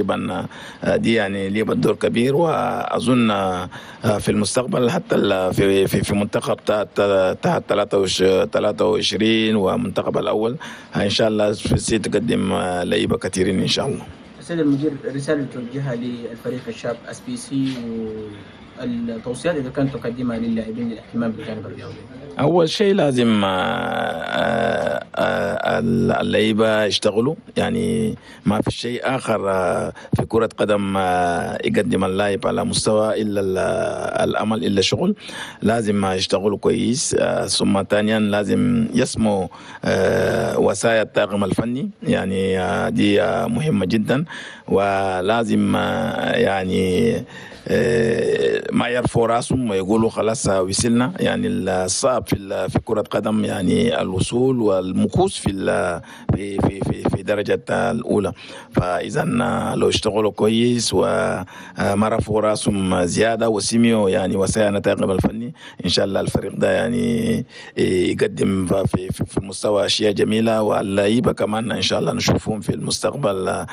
تقريبا دي يعني لعبت دور كبير، واظن في المستقبل حتى في منتخب تحت 23 ومنتخب الاول ان شاء الله في تقدم لعيبة كثيرين ان شاء الله. السيد المدير، رسالة توجهها للفريق الشاب SPC والتوصيات اذا كانت تقدمها للاعبين للاهتمام بالجانب الرياضي. اول شيء لازم اللعيبة يشتغلوا، يعني ما في شيء اخر في كره قدم يقدم اللاعب على مستوى الا الامل الا الشغل. لازم يشتغلوا كويس، ثم ثانيا لازم يسمعوا وصايا الطاقم الفني، يعني دي مهمة جدا. ولازم يعني ما يرفعوا راسهم ويقولوا خلاص وصلنا، يعني الصعب في كرة قدم يعني الوصول والمكوس في في في في في درجة الأولى. فإذا لو اشتغلوا كويس وما رفعوا راسهم زيادة وسمعوا يعني وصايا الطاقم الفني، إن شاء الله الفريق ده يعني يقدم في مستوى أشياء جميلة، واللعيبة كمان إن شاء الله نشوفهم في المستقبل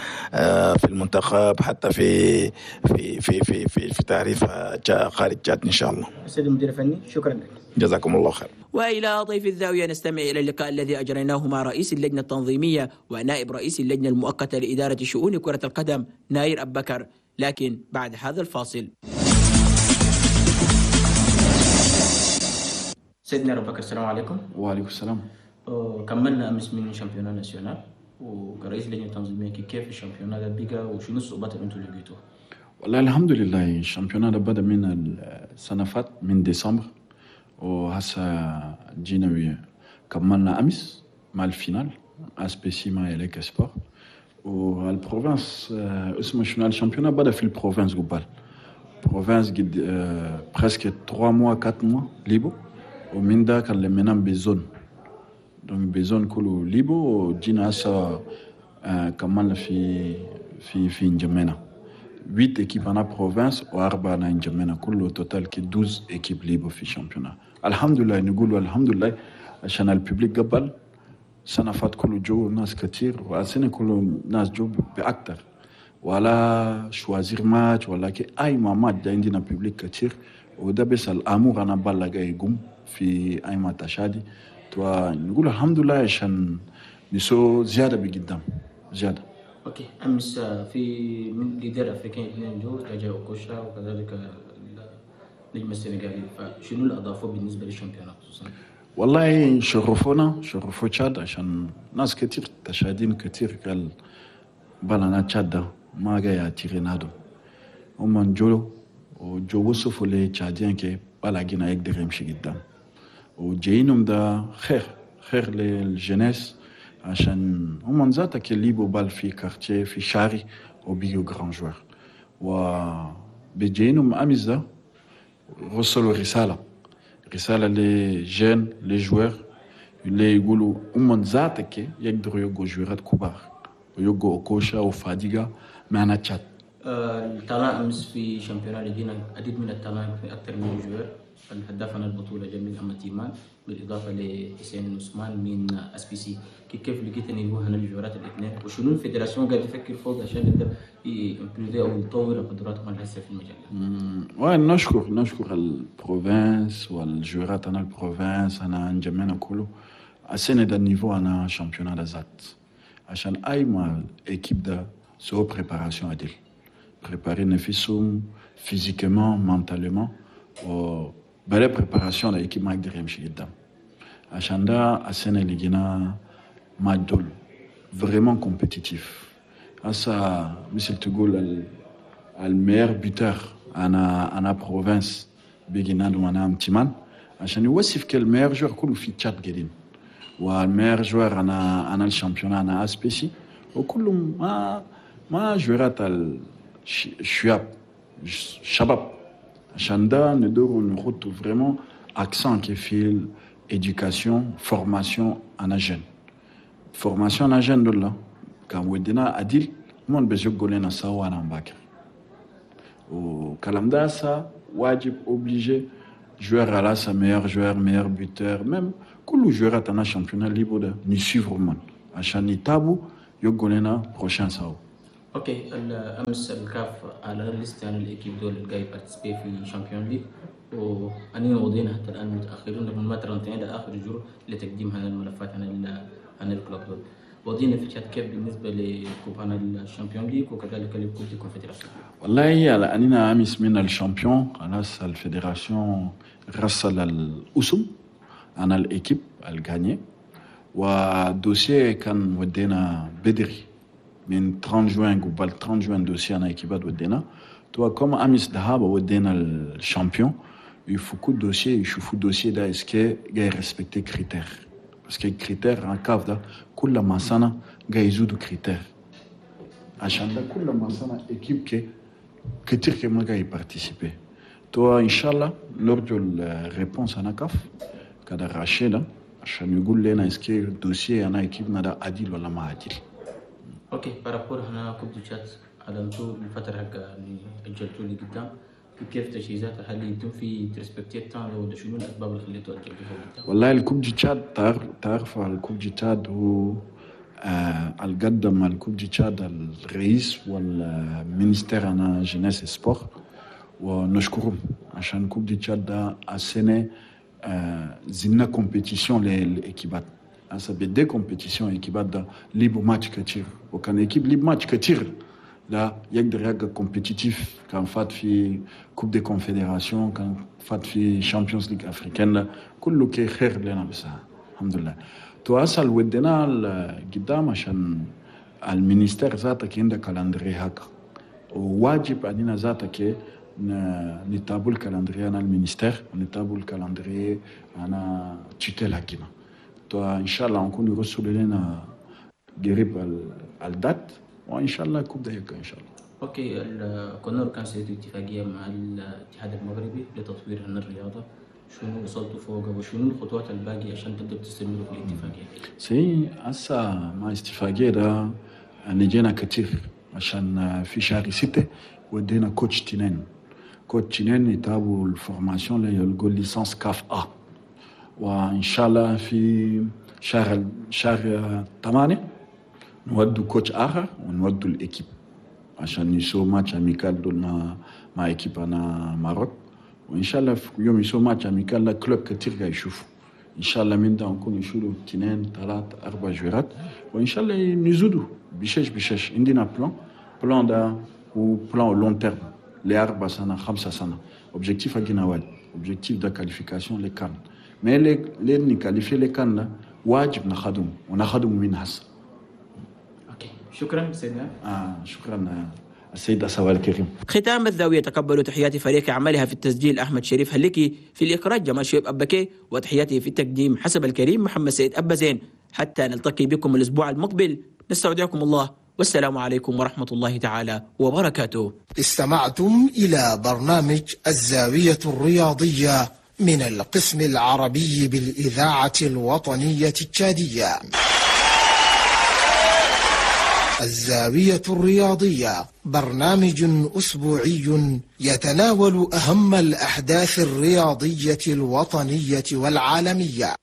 في المنتخب، حتى في في في في في, في تعريف خارج تشاد إن شاء الله. السيد المدير الفني، شكرا لك. جزاكم الله خير. وإلى ضيف الزاوية نستمع إلى اللقاء الذي أجريناه مع رئيس اللجنة التنظيمية ونائب رئيس اللجنة المؤقتة لإدارة شؤون كرة القدم ناير أبكر، لكن بعد هذا الفاصل. سيدنا أبو بكر، السلام عليكم. وعليكم السلام. كملنا أمس من championnat national، وكرئيس اللجنة التنظيمية كيف ال championnat ده بقى وشنو الصعوبات اللي انتم لقيتوها؟ والله الحمد لله، ال championnat ده بدأ من السنة فات من ديسمبر، وهسه جينا كملنا أمس مع ال finale SPC مع إليك سبور. وال province اسمه شنو، ال championnat بدأ في ال province قبل province قد presque 3 mois 4 mois ليبو، ومن ذاك لمينا ب zone، donc ب zone كله ليبو، وجينا هسه كملنا في في في انجمينا 8 équipes انا province واربعة انا انجمينا، كله total كي 12 équipes ليبو في ال championnat. الحمد لله، نقول الحمد لله عشان ال public قبل سنة فات كله جو ناس كتير، والسنة كله ناس جو باكتر، ولا choisir match ولا كي اي ما ماتش ده عندنا public كتير، وده بس الامور انا بلغ يقوم في اي ما تشادي توا نقول الحمد لله عشان نسو زيادة بقدام زيادة. okay، امس في من leader افريقيين اثنين جو تاجا اوكوشا وكذلك النجم السنغالي، فشنو اللي اضافوه بالنسبة لل championnat خصوصا؟ والله شرفونا، شرفوا تشاد عشان ناس كتير تشادين كتير قال بلنا تشاد ده ما جاي تيرينادو، هم جو وجو وصفوا لي تشادين كي بلا جينا يقدر يمشي قدام، وجايينهم ده خير خير لل jeunesse عشان هم ذاتك اللي بال في quartier في شاري وبيجوا grands joueurs، وبيجينهم امس ده وصلوا رسالة رسالة les jeunes les joueurs اللي يقولوا هم ذاتك يقدروا يبقوا جوارات كبار ويبقوا اوكوشا وفاديغا معنا تشاد. ال talent امس في championnat لقينا عديد من ال talent في اكثر من joueur، الهداف عن البطولة جميل أمتيمان بالإضافة لحسين عثمان من SPC. كيف لقيت ان هو هنا الجوارات الاثنين، وشنو ال fédération قاعد يفكر فوق عشان يقدر ي improver او يطور قدراتهم الهسه في المجال ده؟ نشكر ال province والجوارات انا ال province انا انجمينا كله السنة ده ال niveau انا championnat ده ذات، عشان اي ما équipe ده سو préparation عديل préparer نفسهم physiquement mentalement، و بلا préparation l'équipe ما يقدر يمشي قدام. عشان ده السنة اللي جينا مع دول vraiment compétitif. هسا مثل تقول ال meilleur buteur انا province بيجينا انا امتمان عشان يوصف كل meilleur joueur كله في تشاد قاعدين، وال meilleur joueur انا ال championnat انا SPC، وكلهم ما جوارات الشباب شباب. عشان ده ندور نحط vraiment accent كي في éducation formation انا jeune formation انا jeune دول كان ودينا عديل من بيزقوا لنا سوا انا مبكر، وكلام ده سا واجب obligé joueur على sa meilleur joueur meilleur buteur même كل joueur انا championnat libre ده نسيفر من عشان يتابو يقول لنا prochain سوا. OK، امس الكاف اعلن liste عن ال équipes دول اللي جاي participer في Champions League، واننا وضينا حتى الان متاخرين لما ما ترنتين لاخر jour لتقديم هذه الملفات عن ال clubs دول. وضينا في تشاد كيف بالنسبة ل coupe عن ال Champions League وكذلك ل coupe des confédérations؟ والله لأننا أمس من ال champion، خلاص ال fédération رسل الأسم عن ال équipes ال gagné، و dossier كان ودينا بدري من 30 جوان، قبل 30 جوان dossier انا équipe ات ودينا. توا comme امس ذهاب ودينا ال champion، يفكوا ال dossier، يشوفوا ال dossier ده est-ce que جاي respecter critères، parce que critères en CAF ده كل ما سنة جاي يزودوا critères، عشان ده كل ما سنة équipe كي كتير كي ما جاي participer. توا ان شاء الله نرجو ال réponse انا كاف كده راشينا عشان يقول لنا est-ce que ال dossier انا équipe نا ده عديل ولا ما عديل. OK، par rapport هنا coupe du تشاد، اعلنتوا الفترة حق يعني اجلتوا لي قدام، كيف تجهيزات؟ هل يتم في ت respecter temps ولا شنو الاسباب اللي خليتوا اجلتوها قدام؟ والله ال coupe du تشاد، تعرف ال coupe du تشاد هو القدم ال coupe du تشاد الرئيس وال ministère انا jeunesse sport، ونشكرهم عشان coupe du تشاد ده السنة زدنا compétition لل équipe ات. هسه بدي compétition équipe ات ده ليبو ماتش كتير، وكان équipe ليب ماتش كتير لا يقدر يبقى compétitif، كان فات في coupe des confédérations، كان فات في Champions League africaine، كله كي خير لنا، بس الحمد لله. تو اصل ودينا قدام عشان ال ministère ذاتك عنده calendrier هكا، وواجب علينا ذاتك نتابعوا ال calendrier انا ال ministère ونتابعوا ال calendrier انا tutelle هكينا. تو ان شاء الله نكون يرسلوا لنا قريب ال date، وان شاء الله coupe ده ان شاء الله. OK، الكونور كان سيدو اتفاقية مع الاتحاد المغربي لتطوير الرياضة، شنو وصلتوا فوق وشنو الخطوات الباقية عشان تقدر تستمروا في الاتفاقية؟ c'est هسه مع اتفاقية ده نجينا كتير، عشان في شهر 6 ودينا coach تنين، coach تنين يتابعوا ال formation اللي يلقوا licence CAF A، وان شاء الله في شهر 8 نودوا coach اخر ونودوا ال équipe عشان يسو match amical دول مع équipe انا Maroc. وان شاء الله في يوم يسو match amical لا clubs كتير قاعد يشوفوا، ان شاء الله من ده نكون يشيلوا اثنين ثلاث اربع joueur ات، وان شاء الله نزودوا بشش بشش. عندنا plan ده و plan long terme ل4 سنة 5 سنة. objectif حقنا واحد، objectif ده qualification les CAN، mais les ن qualifier les CAN واجب نخدم ونخدم من هسه. OK، شكرا سيدنا. شكرا السيد أسوال الكريم. ختام الزاوية، تقبلوا تحيات فريق عملها في التسجيل أحمد شريف هلكي، في الإخراج جمال شويب أبكي، وتحياتي في التقديم حسب الكريم محمد سيد أبا زين. حتى نلتقي بكم الأسبوع المقبل، نستودعكم الله، والسلام عليكم ورحمة الله تعالى وبركاته. استمعتم إلى برنامج الزاوية الرياضية من القسم العربي بالإذاعة الوطنية التشادية. الزاوية الرياضية برنامج أسبوعي يتناول أهم الأحداث الرياضية الوطنية والعالمية.